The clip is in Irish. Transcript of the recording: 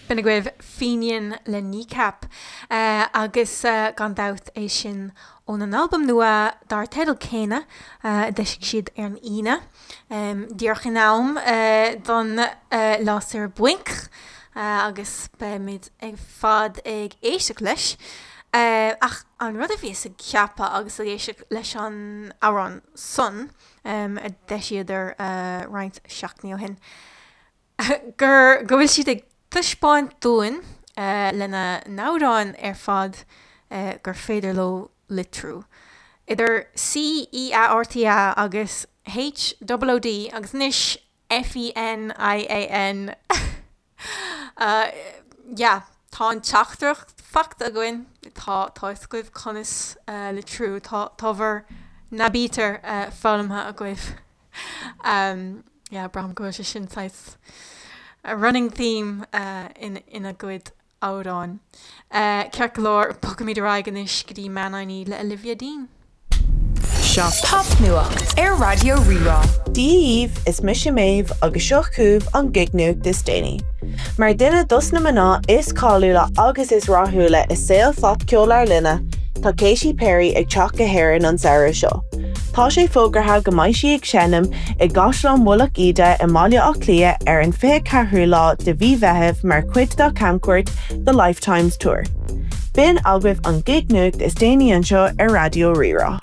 B'in agaibh Fenian le Kneecap agus gan dabht é sin óna n-albam nua dar teideal céanna a d'eisigh siad ar an Aoine, díreach in am don lá saoire bainc agus beimid ar fad ag éisteacht leis. Ach an rud a bhíos ag ceapadh agus ag éisteacht leis an amhrán san a d'eisíodar roinnt seachtainí ó shin, gur go bhfuil siad ag taispeáint dúinn lena n-amhráin ar fad gur féidir leo litriú. Idir C E A R T A agus H O O D agus anois F E N I A N. Yeah, tá an teachtaireacht faighte againn, tá tá fhios agaibh conas litriú, tá tá bhur n-aibítir foghlamtha agaibh. Yeah, braithim go bhfuil sé sin saghas running theme ina gcuid amhráin. Ceart go leor, bogfaimid ar aghaidh anois go dtí Man I Need le Olivia Dean. Seo Popnuacht ar Raidió Rí-Rá. Dia dhaoibh, is mise Méabh agus seo chugaibh an gignuacht is déanaí. Mar duine dos na mná is cáiliúla agus is rathúla i saol phopcheol ár linne, tá Katy Perry ag teacht go hÉirinn an samhradh seo. Tá sé fógartha go mbeidh sí ag seinm i gCaisleán Mhullach Íde i mBaile Átha Cliath ar an 24ú lá de mhí Mheithimh mar chuid dá camchuairt The Lifetimes Tour. B'in agaibh an gig nuacht is déanaí anseo ar Raidió Rí-Rá.